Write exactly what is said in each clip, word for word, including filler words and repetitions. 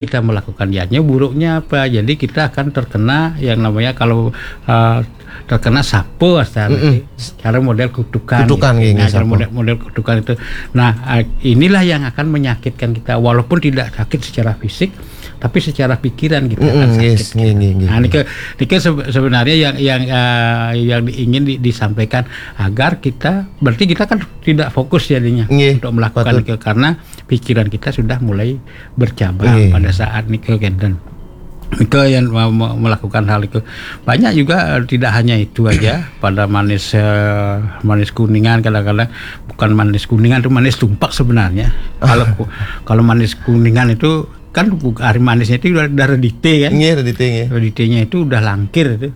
kita melakukan, jadinya buruknya apa? Jadi kita akan terkena yang namanya, kalau eh, terkena sapa, asal Mm-mm. cara model kutukan. Kutukan, gitu. Nggih, nggih, Nah, cara sapa. model, model kutukan itu. Nah, eh, inilah yang akan menyakitkan kita, walaupun tidak sakit secara fisik, tapi secara pikiran kita akan Mm-mm, sakit. Yes, nggih, nggih, nggih. Nah, niki, niki sebe-, sebenarnya yang, yang eh, yang ingin di- disampaikan, agar kita, berarti kita kan tidak fokus jadinya Nggih, untuk melakukan patut. Niki, karena pikiran kita sudah mulai bercabang Nggih. Pada saat niki, kenten. Niki yang me- me- melakukan hal itu banyak juga, eh, tidak hanya itu aja, pada manis eh, manis kuningan, kadang-kadang bukan manis kuningan, itu manis tumpak sebenarnya. Kalau ku- kalau manis kuningan itu kan bu- hari manisnya itu udah, udah redite, kan? Nggih, redite, nggih. Reditenya itu udah langkir itu.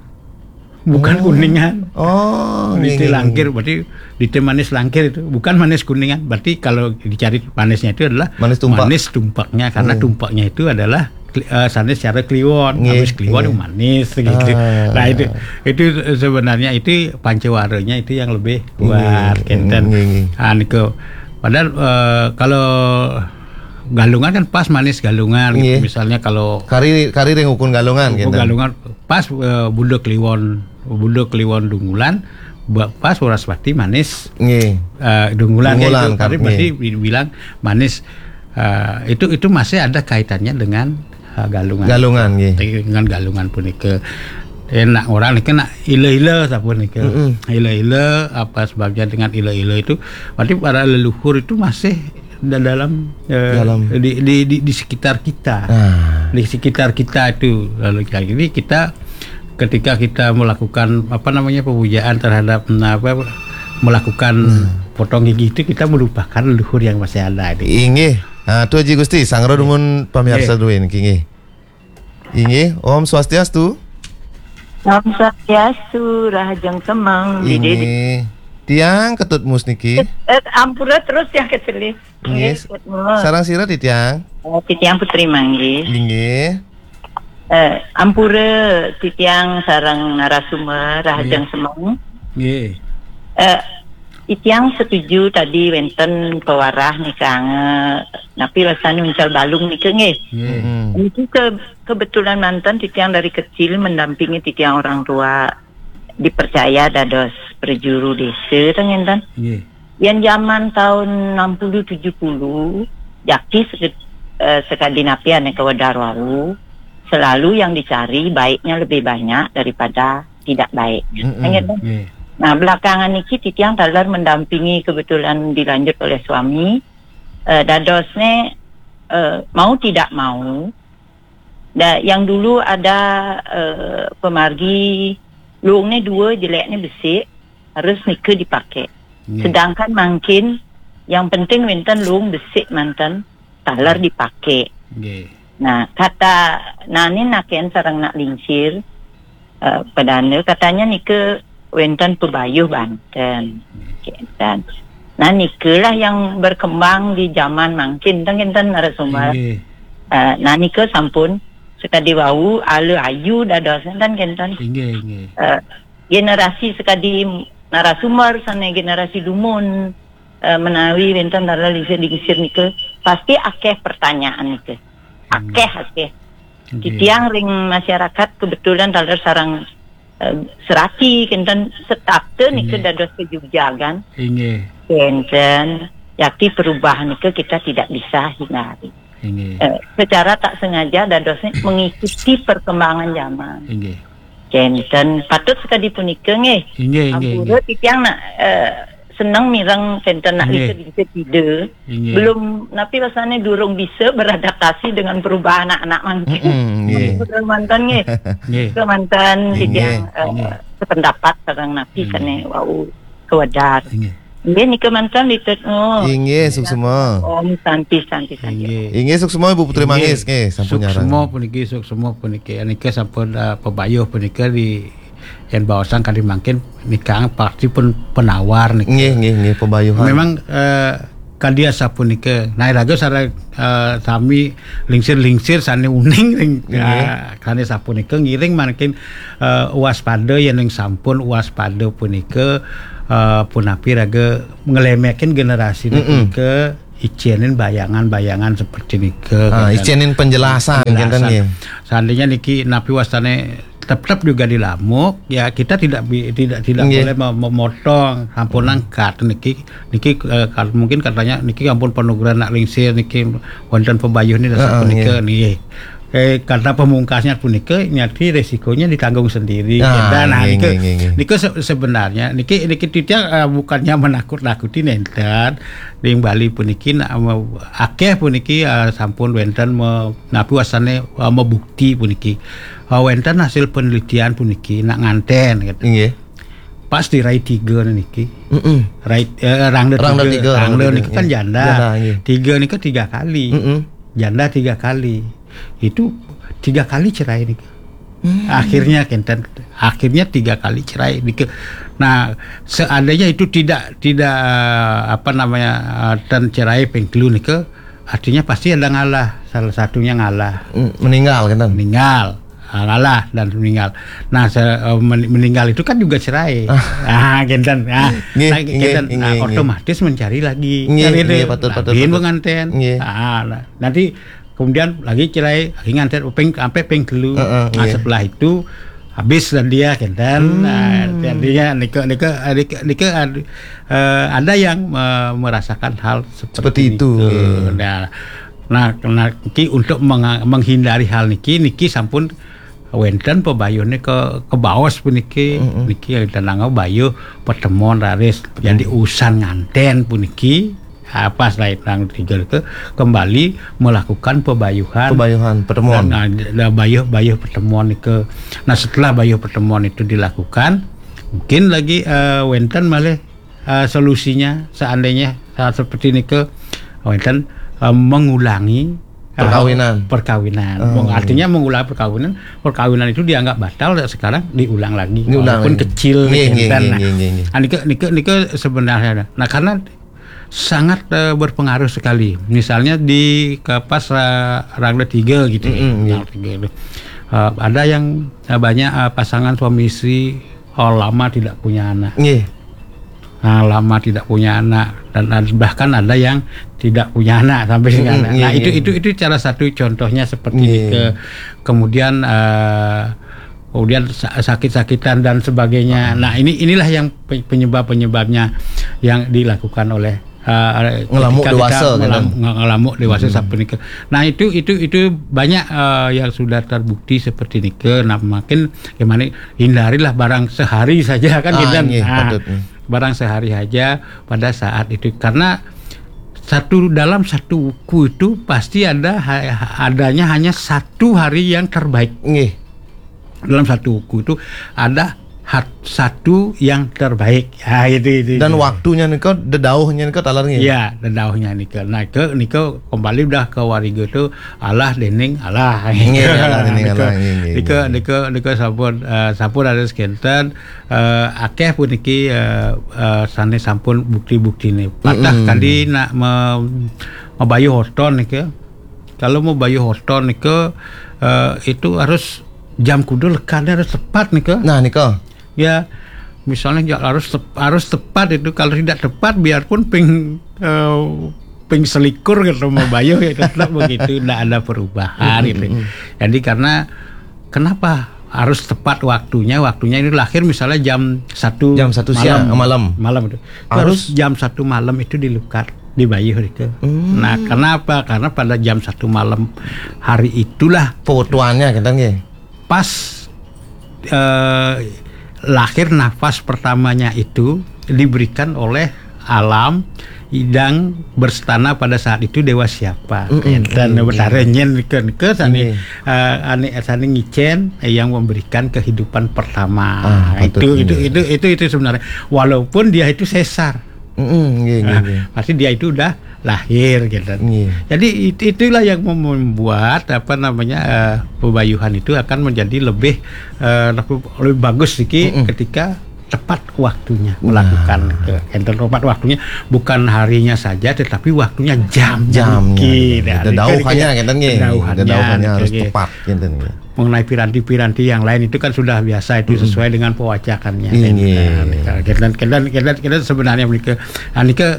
Bukan Oh. Kuningan. Oh, nggih, Redite nggih, langkir, nggih. Berarti redite manis langkir itu, bukan manis kuningan. Berarti kalau dicari manisnya itu adalah Manis tumpak. Manis tumpaknya, karena Hmm. Tumpaknya itu adalah kli- eh, sanes cara kliwon. Nggih, habis kliwon nggih. Manis gitu. Ah. Nah, itu itu sebenarnya itu pancawaranya itu yang lebih kuat, nggih, kenten. Nggih, nggih. Ah, niku. Padahal eh, kalau Galungan kan pas manis Galungan gitu. Nggih. Misalnya kalau kari kari ring ukun Galungan, Ukun kenten. Galungan pas eh, Bunda Kliwon, Bunda Kliwon Dungulan, ba- pas Wraspati manis Nggih. Eh, Dungulan, Dungulan, gitu. Tapi nggih. Berarti dibilang manis. Eh, itu itu masih ada kaitannya dengan eh, Galungan. Galungan, nggih. Dengan Galungan punika. Enak orang niki nak ila-ila sapa niki. Mm-mm. Ila-ila apa sebabnya dengan ila-ila itu? Berarti para leluhur itu masih da- dalam, eh, Dalam. Di, di, di, di sekitar kita. Ah. Di sekitar kita itu. Lalu jadi kita, ketika kita melakukan apa namanya, pemujaan terhadap, nah, apa, melakukan Hmm. potong gigi itu, kita melupakan leluhur yang masih ada itu. Inggih. Ah, tu Haji Gusti, sangro dumun pamiarsa Nggih. Duwin, inggih. Inggih, Om Swastiastu. Om Swastiastu, Rahajeng Semeng, Dede. Inggih. Tiang Ketut Mus niki. Eh, eh, ampura terus ya, Ketut. Inggih. Nggih, Ketut Mus. Sareng sira, Titiang? Eh, Titiang Putri Manggis. Inggih. Eh, ampura Titiang sareng narasumber, Rahajeng Nggih. Semeng. Nggih. Eh, Titiang setuju tadi wenten pewarah nika, napi rasane uncal balung nika, nggih. Nggih. Mm-mm. Niki ke- kebetulan manten titiang dari kecil mendampingi titiang orang tua dipercaya dados prajuru desa, ten ngenten. Nggih. Yen zaman tahun enam puluh tujuh puluh, jaki seke- eh, sekadi napi ane kawedar wau, selalu yang dicari baiknya lebih banyak daripada tidak baiknya. Mm-mm. Ten ngenten. Nggih. Nah, belakangan niki titiang taler mendampingi, kebetulan dilanjut oleh suami, eh, dadosne, eh, mau tidak mau, da, yang dulu ada eh, pemargi, luungne dua, jelekne besik, harus nika dipakai. Nggih. Sedangkan mangkin yang penting wenten luung besik manten, taler dipakai. Nggih. Nah, kata nanin naken sareng nak lingsir, eh, padahal katanya nika wenten pebayuh banten. Kenten. Nah, nikalah yang berkembang di zaman mangkin, ten ngenten, narasumber. Nggih. Eh, nah, nika sampun sekadi wau ala ayu dados, ten ngenten. Inggih, inggih. Eh, generasi sekadi narasumber sane generasi dumun, eh, menawi wenten taler lingsir-lingsir nika pasti akeh pertanyaan nika. Akeh, akeh. Nggih. Titiang ring masyarakat kebetulan taler sareng eh, serati kenten setapte nika Inggih. Dados kejugjagan. Inggih. Kenten, yakti perubahan nika kita tidak bisa hindari. Inggih. Eh, secara tak sengaja dadosnya mengikuti perkembangan zaman. Inggih. Kenten, patut sekadi punika, nggih. Inggih, inggih, ampura inggih. Titiang nak eh, seneng mireng kenten nak Inggih. Lingsir-lingsir Ida. Inggih. Belum, napi rasane durung bisa beradaptasi dengan perubahan anak-anak mangkin. Mm-mm, nggih. Betul manten, nggih. Nggih. Betul manten, Inggih, titiang eh, inggih. Sependapat sareng napi Inggih. Sane wau kawedar. Inggih. Inggih, nika manten, Litet. Oh. Inggih, suksma. Om Santi, Santi, Santi. Inggih. Inggih, suksma Ibu Putri Inggih. Manggis, nggih, sampun nyarang. Suksma puniki, suksma puniki. Nika sampun eh, pebayuh punika di yen baosang kadi mangkin nika pasti pun penawar nika. Nggih, nggih, nggih, pebayuhan. Memang eh, kadi asapunika. Nah, raga sareng eh, sami lingsir-lingsir sane uning ring Nggih. Eh, sane sapunika ngiring mangkin eh, waspada yen ring sampun waspada punika eh, punapi raga nglemekin generasi Mm-mm. punika icenin bayangan-bayangan seperti nika, ah, ngeten. Icenin penjelasan, ngeten nggih. Seandainya niki napi wastane tetap juga dilamuk, ya kita tidak bi-, tidak tidak boleh mem-, memotong, sampun angkat niki, niki, eh, kal-, mungkin katanya niki ampun panugrahan nak lingsir niki wonten pebayuh niki, heeh, sapunika nggih. Eh, karena pemungkasnya punika nyati resikonya ditanggung sendiri. Ah, dan nah, nggih, niki, nggih, nggih, nggih. Niki se-, sebenarnya niki, niki titiang, eh, bukannya menakut-nakuti nenten. Ring Bali puniki nak, eh, akeh puniki, eh, sampun wenten me-, napi wastane, eh, mebukti puniki. Eh, wenten hasil penelitian puniki nak nganten gitu. Nggih. Pas di rai tiga niki. Mm-mm. Rai, eh, rangda tiga, rangda tiga, rangda niki kan janda. Janda, nggih. Tiga niki tiga kali. Mm-mm. Janda tiga kali. Itu tiga kali cerai niki. Hmm. Akhirnya kenten, akhirnya tiga kali cerai niki. Nah, seandainya itu tidak, tidak, apa namanya, eh, ten cerai ping telu niki, artinya pasti ada ngalah, salah satunya ngalah. Hmm, meninggal, kenten? Meninggal. Ah, ngalah dan meninggal. Nah, se-, eh, men-, meninggal itu kan juga cerai. Ah, kenten. Ah, nggih, nah, nggih, kenten. Nah, nggih, nggih. Otomatis mencari lagi. Nggih, kan gitu. Nggih, betul, betul, betul. Penganten. Nggih. Ah, nah, nanti kemudian lagi cerai, lagi nganten ping, sampai ping telu. Heeh, nah, nggih. Setelah itu habis dan dia kenten. Hmm. Nah, jadinya nike, nike, nike, nike ad-, eh, ada yang, eh, merasakan hal seperti, seperti itu, nggih. Nah, nah, nah, niki untuk menga-, menghindari hal niki, niki sampun wenten pebayuhne ke, kebaos puniki, mm-mm, niki danang bayuh pertemuan raris. Jadi, mm, usan nganten puniki, ah, pas lain rangda tiga itu kembali melakukan pebayuhan. Pebayuhan, pertemuan. Dan, ah, da-, bayuh, bayuh pertemuan ke. Nah, setelah bayuh pertemuan itu dilakukan, mungkin lagi, eh, wenten malih, eh, solusinya seandainya hal seperti nike, wenten, eh, mengulangi, eh, perkawinan. Perkawinan. Oh. Meng-, artinya mengulang perkawinan, perkawinan itu dianggap batal, sekarang diulang lagi. Diulang lagi. Walaupun kecil, nggih, nggih, nggih, nggih, nggih. Ah, nike, nike, nike sebenarnya. Nah, karena sangat, eh, berpengaruh sekali. Misalnya di ke pas, eh, rangda tiga gitu ya. Mm-mm, nggih. Rangda tiga itu. Eh, ada yang, eh, banyak, eh, pasangan suami istri, oh, lama tidak punya anak. Nggih. Nah, lama tidak punya anak dan ad-, bahkan ada yang tidak punya anak sampai sekarang. Mm-mm, nggih, nggih. Nah, itu, itu, itu salah satu contohnya seperti, nggih, ke-, kemudian, eh, kemudian sa-, sakit-sakitan dan sebagainya. Ah. Nah, ini, inilah yang pe-, penyebab-penyebabnya yang dilakukan oleh, eh, ketika kita ngelamuk dewasa, ngelam-, gitu, nge-, ngelamuk dewasa, hmm, sapunika. Nah, itu, itu, itu banyak, eh, yang sudah terbukti seperti nike. Nah, makin gimana, hindarilah barang sehari saja kan, ah, gitu. Nggih, nah, patut, hmm, barang sehari saja pada saat itu. Karena satu, dalam satu wuku itu pasti ada ha-, adanya hanya satu hari yang terbaik. Nggih. Dalam satu wuku itu ada hat-, satu yang terbaik. Ah, itu, itu, dan itu. Waktunya nika, dedauhnya nika taler nggih? Ya, dedauhnya nika. Nah, ke, nika kembali udah ke wariga itu Allah dening Allah. Nggih, Allah dening Allah, nggih, nggih, nika, nggih, nika, nika sampun, eh, sampun ada sekitar, eh, akeh puniki, eh, eh, sane sampun bukti-buktine. Patah, mm-mm, kali nak me-, mabayuh oton nika. Kalau mau bayuh oton nika, eh, itu harus jam kuda lekadnya harus tepat nika. Nah, nika. Ya, misalnya ja-, harus tep-, harus tepat itu. Kalau tidak tepat, biarpun ping, eh, ping selikur gitu mau bayuh, ya tetap begitu, tidak ada perubahan gitu. Mm-mm. Jadi karena kenapa harus tepat waktunya? Waktunya ini lahir misalnya jam satu, jam satu malam. Siang, malam. Malam itu. Harus harus jam satu malam itu dilukat, dibayuh itu. Hmm. Nah, kenapa? Karena pada jam satu malam hari itulah pewetuannya, kenten nggih. Pas, eh, lahir nafas pertamanya itu diberikan oleh alam yang berstana pada saat itu dewa siapa. Mm-mm. Enten, mm-mm, Betara nyen ke, ke sani, mm, eh, ane, sani ngicen, eh, yang memberikan kehidupan pertama. Ah, itu, patut, itu, iya, itu, itu, itu sebenarnya. Walaupun dia itu sesar. Mm-mm, nggih, nggih, nah, nggih. Pasti dia itu udah lahir gitu. Nggih. Jadi it-, itulah yang mem-, membuat apa namanya, eh, pebayuhan itu akan menjadi lebih, eh, lebih, lebih bagus siki, mm-mm, ketika tepat waktunya, nah, melakukan ke enten tepat waktunya, bukan harinya saja tetapi waktunya jamnya. Jamnya, niki. Nah, dedauhannya, niki, kenten nggih. Dedauhannya, dedauhannya harus, oke, tepat, kenten nggih. Mengenai piranti-piranti yang lain itu kan sudah biasa itu, mm-mm, sesuai dengan pewacakannya. Iya, kan? Iya, nah, iya, kita, kita, kita, kita sebenarnya menikah, nah, nikah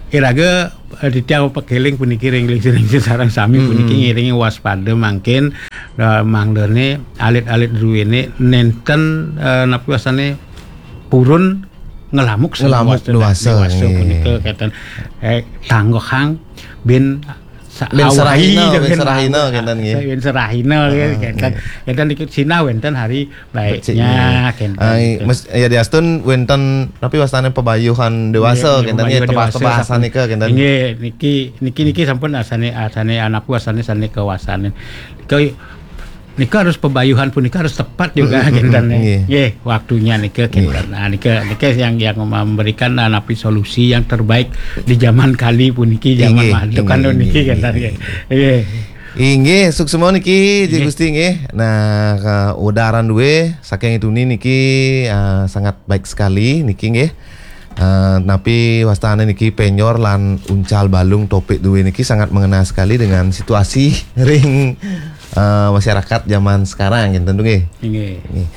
Iraga, eh, titiang pakéling puniki ring, ring, ring sareng sami puniki ngiring waspada mangkin, eh, mangdané alit-alit druéné nénten, eh, napi wastané purun ngelamuk sareng Ngelamuk waspada, déwasa, déwasa nggih. Punika kénten. Eh, tanggehang bin sa-, Bin awai serahina, gitu bin kan. Serahina kénten, nggih. Bin serahina gitu, kénten. Kénten niki sinah wénten hari baiknya, kénten. Ai, gitu. Mes-, ya diastun wénten napi wastané pabayuhan déwasa, nggih, kénten, pabayuhan nggih, déwasa, tebas-tebas sampun. Sanika, kénten. Nggih, niki, niki, niki sampun asané, asané anapu asané sané kawasané. Nika, nika harus pabayuhan punika harus tepat juga, kénten. Nggih. Nggih, waktunya nika, nggih, kénten. Nah, nika, nika yang, yang memberikan, ah, napi solusi yang terbaik di zaman kali puniki, zaman nggih, maju kan nggih, niki, nggih, kénten, nggih, nggih. Nggih. Inggih, suksma niki, Ji Nggih. Gusti, nggih. Nah, ka-, udaran duwe saking Ituni niki, ah, sangat baik sekali niki, nggih. Ah, napi wastané niki penyor lan uncal balung topik duwe niki sangat mengena sekali dengan situasi ring, ah, masyarakat zaman sekarang, gitu, nggih. Inggih. Nggih.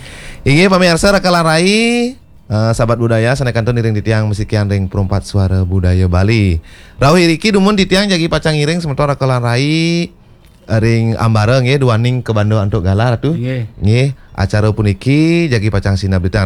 Inggih, pamirsa, Raka lan Rai, eh, sahabat budaya, sané kantun iring titiang masikian ring Perumpat Suara Budaya Bali. Rauh iriki dumun titiang jagi pacang ngiring semeton Raka lan Rai, eh, ring ambara nggih, duaning kabanda antuk galah, Ratu. Nggih. Nggih, acara puniki jagi pacang sinah belitan.